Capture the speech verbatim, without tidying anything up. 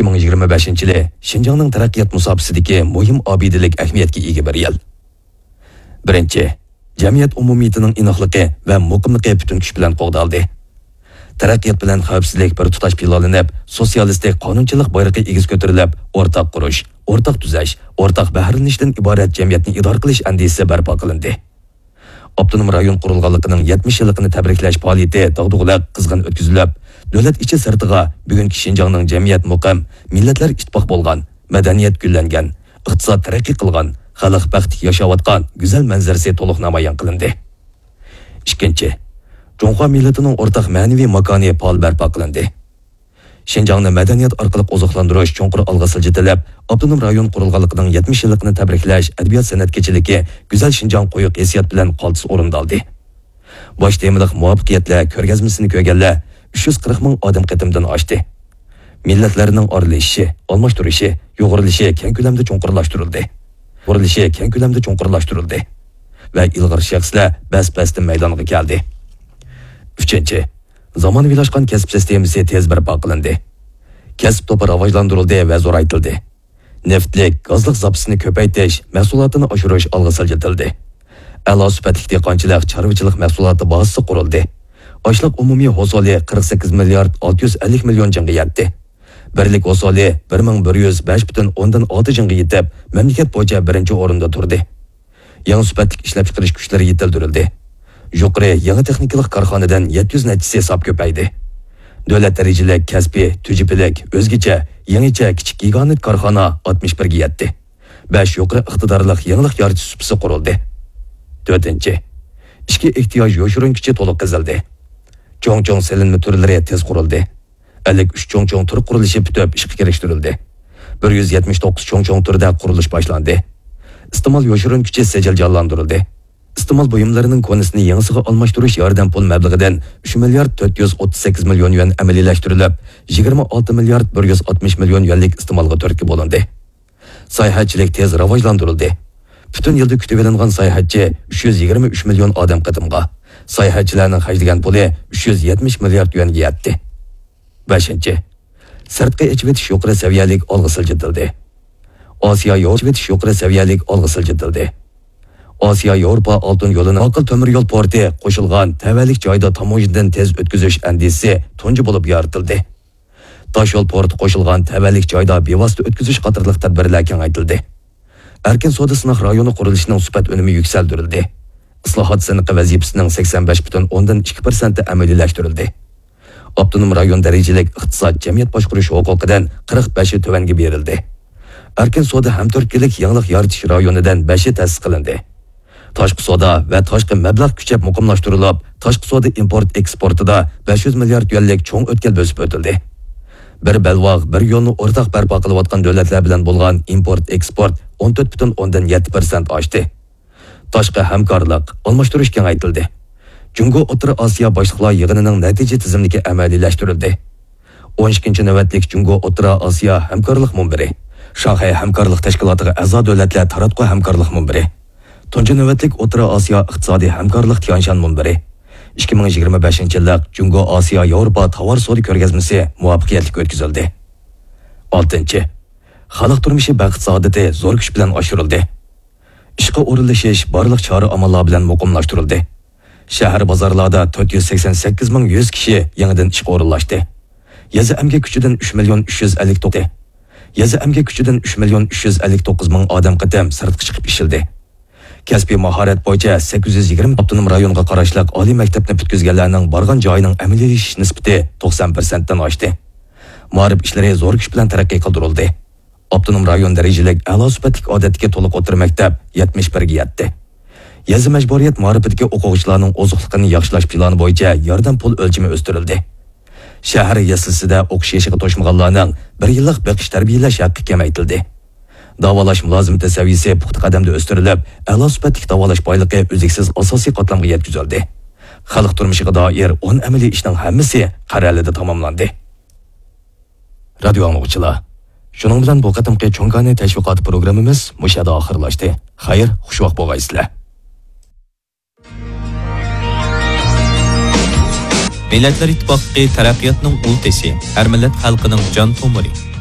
ئىككى مىڭ يىگىرمە بەشىنچى يىلى شىنجاڭنىڭ تەرەققىيات مۇساپىسىدىكى مۇھىم ئابىدىلىك ئەھمىيەتكە ئىگە بىر يىل. بىرىنچى، جەمئىيەت ئومۇمىيىتىنىڭ ئىناقلىقى ۋە مۇقىملىقى پۈتۈن كۈچ بىلەن قوغدالدى. تەرەققىيات بىلەن خەۋپسىزلىك بىر تۇتاش پىلانلىنىپ، سوتسىيالىستىك قانۇنچىلىق بايرىقى ئېگىز كۆتۈرۈلۈپ، ئورتاق قۇرۇش، ئورتاق تۈزەش، ئورتاق بەھرىلىنىشتىن ئىبارەت جەمئىيەتنى ئىدارە قىلىش ئەندىزىسى بەرپا قىلىندى. ئاپتونوم رايون قۇرۇلغانلىقىنىڭ يەتمىش يىللىقىنى تەبرىكلەش پائالىيىتى داغدۇغىلىق، قىزغىن ئۆتكۈزۈلۈپ، دۆلەت ئىچى سىرتىغا بۈگۈنكى شىنجاڭنىڭ جەمئىيەت مۇقىم، مىللەتلەر ئىتتىپاق بولغان، مەدەنىيەت گۈللەنگەن، ئىقتىساد تەرەققىي قىلغان، خەلق بەختلىك ياشاۋاتقان گۈزەل مەنزىرىسى تولۇق نامايان قىلىندى. ئىككىنچى، جۇڭخۇا مىللىتىنىڭ ئورتاق مەنىۋى ماكانى پائال بەرپا قىلىندى. شىنجاڭنى مەدەنىيەت ئارقىلىق ئوزۇقلاندۇرۇش چوڭقۇر ئالغا سىلجىتىلىپ، ئاپتونوم رايون قۇرۇلغانلىقىنىڭ يەتمىش يىللىقىنى تەبرىكلەش ئەدەبىيات سەنئەت كېچىلىكى گۈزەل شىنجاڭ قويۇق ھېسسىيات بىلەن قالتىس ئورۇندالدى. باش تېمىلىق مۇۋەپپەقىيەتلەر كۆرگەزمىسىنى كۆرگەنلەر ئۈچ يۈز قىرىق مىڭ ئادەم قېتىمدىن ئاشتى. مىللەتلەرنىڭ ئارىلىشىشى، ئالماشتۇرۇشى، يۇغۇرۇلۇشى كەڭ كۆلەمدە چوڭقۇرلاشتۇرۇلدى. يۇغۇرۇلۇشى كەڭ كۆلەمدە چوڭقۇرلاشتۇرۇلدى. ۋە ئىلغار شەخسلەر بەس-بەستىن مەيدانغا كەلدى. ئۈچىنچى، زامانىۋىلاشقان كەسىپ سىستېمىسى تېز بەرپا قىلىندى. كەسىپ توپى راۋاجلاندۇرۇلدى ۋە زورايتىلدى. نېفىتلىك، گازلىق زاپىسىنى كۆپەيتىش، مەھسۇلاتىنى ئاشۇرۇش ئالغا سىلجىتىلدى. ئەلا سۈپەتلىك دېھقانچىلىق، چارۋىچىلىق مەھسۇلاتى بازىسى قۇرۇلدى. ئاشلىق ئومۇمىي ھوسۇلى قىرىق سەككىز مىليارد ئالتە يۈز ئەللىك مىليون جىڭغا يەتتى. بىرلىك ھوسۇلى بىر مىڭ بىر يۈز بەش پۈتۈن ئوندىن ئالتە جىڭغا يېتىپ، مەملىكەت بويىچە بىرىنچى ئورۇندا تۇردى. يېڭى سۈپەتلىك ئىشلەپچىقىرىش كۈچلىرى يېتىلدۈرۈلدى. يۇقىرى يېڭى تېخنىكىلىق كارخانىدىن يەتتە يۈز نەچچىسى ساپ كۆپەيدى. دۆلەت دەرىجىلىك كەسپىي، تۈجۈپىلىك، ئۆزگىچە، يېڭىچە، كىچىك گىگانت كارخانا ئاتمىش بىرگە يەتتى. بەش يۇقىرى ئىقتىدارلىق يېڭىلىق يارىتىش سۇپىسى قۇرۇلدى. تۆتىنچى، ئىچكى ئېھتىياج يوشۇرۇن كۈچى تولۇق قېزىلدى. چوڭ-چوڭ سېلىنما تۈرلىرى تېز قۇرۇلدى. ئەللىك ئۈچ چوڭ-چوڭ تۈر قۇرۇلۇشى پۈتۈپ ئىشقا كىرىشتۈرۈلدى. بىر يۈز يەتمىش توققۇز چوڭ-چوڭ تۈردە قۇرۇلۇش باشلاندى. ئىستېمال يوشۇرۇن كۈچى سىجىل جانلاندۇرۇلدى. ئىستېمال بۇيۇملىرىنىڭ كونىسىنى يېڭىسىغا ئالماشتۇرۇش ياردەم پۇل مەبلىغىدىن ئۈچ مىليارد تۆت يۈز ئوتتۇز سەككىز مىليون يۈەن ئەمەلىيلەشتۈرۈلۈپ، يىگىرمە ئالتە مىليارد بىر يۈز ئاتمىش مىليون يۈەنلىك ئىستېمالغا تۈرتكە بولۇندى. ساياھەتچىلىك تېز راۋاجلاندۇرۇلدى. پۈتۈن يىلدا كۈتۈۋېلىنغان ساياھەتچى ئۈچ يۈز يىگىرمە ئۈچ مىليون ئادەم قېتىمغا، ساياھەتچىلەرنىڭ خەجلىگەن پۇلى ئۈچ يۈز يەتمىش مىليارد يۈەنگە يەتتى. بەشىنچى، سىرتقى ئېچىۋېتىش يۇقىرى سەۋىيەلىك ئالغا سىلجىتىلدى. ئاسىيا ياۋروپا ئېچىۋېتىش يۇقىرى سەۋىيەلىك ئالغا سىلجىتىلدى. ئاسىيا ياۋروپا ئالتۇن يولىنىڭ ئاقىل تۆمۈر يول پورتى قوشۇلغان تەۋەلىك جايدا تاموژنىدىن تېز ئۆتكۈزۈش ئەندىزىسى تۇنجى بولۇپ يارىتىلدى. تاشيول پورتى قوشۇلغان تەۋەلىك جايدا بىۋاسىتە ئۆتكۈزۈش قاتارلىق تەدبىرلەر كېڭەيتىلدى. ئەركىن سودا سىناق رايونى قۇرۇلۇشىنىڭ سۈپەت ئۈنۈمى يۈكسەلدۈرۈلدى. ئىسلاھات سىنىقى ۋەزىپىسىنىڭ سەكسەن بەش پۈتۈن ئوندىن ئىككى پىرسەنتى ئەمەلىيلەشتۈرۈلدى. ئاپتونوم رايون دەرىجىلىك ئىقتىساد، جەمئىيەت باشقۇرۇش ھوقۇقىدىن قىرىق بەشى تۆۋەنگە بېرىلدى. ئەركىن سودا ھەمتۈرتكىلىك يېڭىلىق يارىتىش رايونىدىن بەشى تەسىس قىلىندى. تاشقى سودا ۋە تاشقى مەبلەغ كۈچەپ مۇقىملاشتۇرۇلۇپ، تاشقى سودا ئىمپورت ئېكسپورتىدا بەش يۈز مىليارد يۈەنلىك چوڭ ئۆتكەل بۆسۈپ ئۆتۈلدى. بىر بەلباغ، بىر يولنى ئورتاق بەرپا قىلىۋاتقان دۆلەتلەر بىلەن بولغان ئىمپورت ئېكسپورت ئون تۆت پۈتۈن ئوندىن يەتتە پىرسەنت ئاشتى. تاشقى ھەمكارلىق، ئالماشتۇرۇش كېڭەيتىلدى. جۇڭگو ئوتتۇرا ئاسىيا باشلىقلار يىغىنىنىڭ نەتىجە تىزىملىكى ئەمەلىيلەشتۈرۈلدى. ئون ئىككىنچى نۆۋەتلىك جۇڭگو ئوتتۇرا ئاسىيا ھەمكارلىق مۇنبىرى، شاڭخەي ھەمكارلىق تەشكىلاتىغا ئەزا دۆلەتلەر تاراتقۇ ھەمكارلىق مۇنبىرى، تۇنجى نۆۋەتلىك ئوتتۇرا ئاسىيا ئىقتىسادىي ھەمكارلىق تيەنشان مۇنبىرى، ئىككى مىڭ يىگىرمە بەشىنچى يىللىق جۇڭگو ئاسىيا ياۋروپا تاۋار سودا كۆرگەزمىسى مۇۋەپپەقىيەتلىك ئۆتكۈزۈلدى. ئالتىنچى، خەلق تۇرمۇشى بەخت سائادىتى زور كۈچ بىلەن ئاشۇرۇلدى. ئىشقا ئورۇنلىشىش بارلىق چارە-ئاماللار بىلەن مۇقىملاشتۇرۇلدى. شەھەر بازارلاردا تۆت يۈز سەكسەن سەككىز مىڭ يۈز كىشى يېڭىدىن ئىشقا ئورۇنلاشتى. يېزا ئەمگەك كۈچىدىن ئۈچ مىليون ئۈچ يۈز ئەللىك توققۇز، يېزا ئەمگەك كۈچىدىن ئۈچ مىليون ئۈچ يۈز ئەللىك توققۇز مىڭ ئادەم قېتىم سىرتقا چىقىپ ئىشلىدى. كەسپىي ماھارەت بويىچە سەككىز يۈز يىگىرمە ئاپتونوم رايونغا قاراشلىق ئالىي مەكتەپنى پۈتكۈزگەنلەرنىڭ بارغان جايىنىڭ ئەمەلىيلىشىش نىسبىتى توقسان پىرسەنتتىن ئاشتى. مائارىپ ئىشلىرى زور كۈچ بىلەن تەرەققىي قىلدۇرۇلدى. ئاپتونوم رايون دەرىجىلىك ئەلا سۈپەتلىك ئادەتتىكى تولۇق ئوتتۇرا مەكتەپ يەتمىش بىرگە يەتتى. يېزا مەجبۇرىيەت مائارىپىدىكى ئوقۇغۇچىلارنىڭ ئوزۇقلۇقىنى ياخشىلاش پىلانى بويىچە ياردەم پۇل ئۆلچىمى ئۆستۈرۈلدى. شەھەر يەسلىسىدە ئوقۇش يېشىغا توشمىغانلارنىڭ بىر يىللىق بېقىش تەربىيەلەش ھەققى كېمەيتىلدى. داۋالاش مۇلازىمىتى سەۋىيەسى پۇختا قەدەمدە ئۆستۈرۈلۈپ، ئەلا سۈپەتلىك داۋالاش بايلىقى ئۈزلۈكسىز ئاساسىي قاتلامغا يەتكۈزۈلدى. خەلق تۇرمۇشىغا دائىر ئون ئەمەلىي ئىشنىڭ ھەممىسى قەرەلىدە تاماملاندى. رادىيو ئاڭلىغۇچىلار، شۇنىڭ بىلەن بۇ قېتىمقى چوڭ كانى تەشۋىقاتى پروگراممىمىز مۇشۇ يەردە ئاخىرلاشتى. خەير، خۇشۋاق بولغايسىلەر. مىللەتلەر ئىتتىپاقلىقى تەرەققىياتنىڭ ئۇل تېشى، ھەر مىللەت خەلقىنىڭ جان تومۇرى.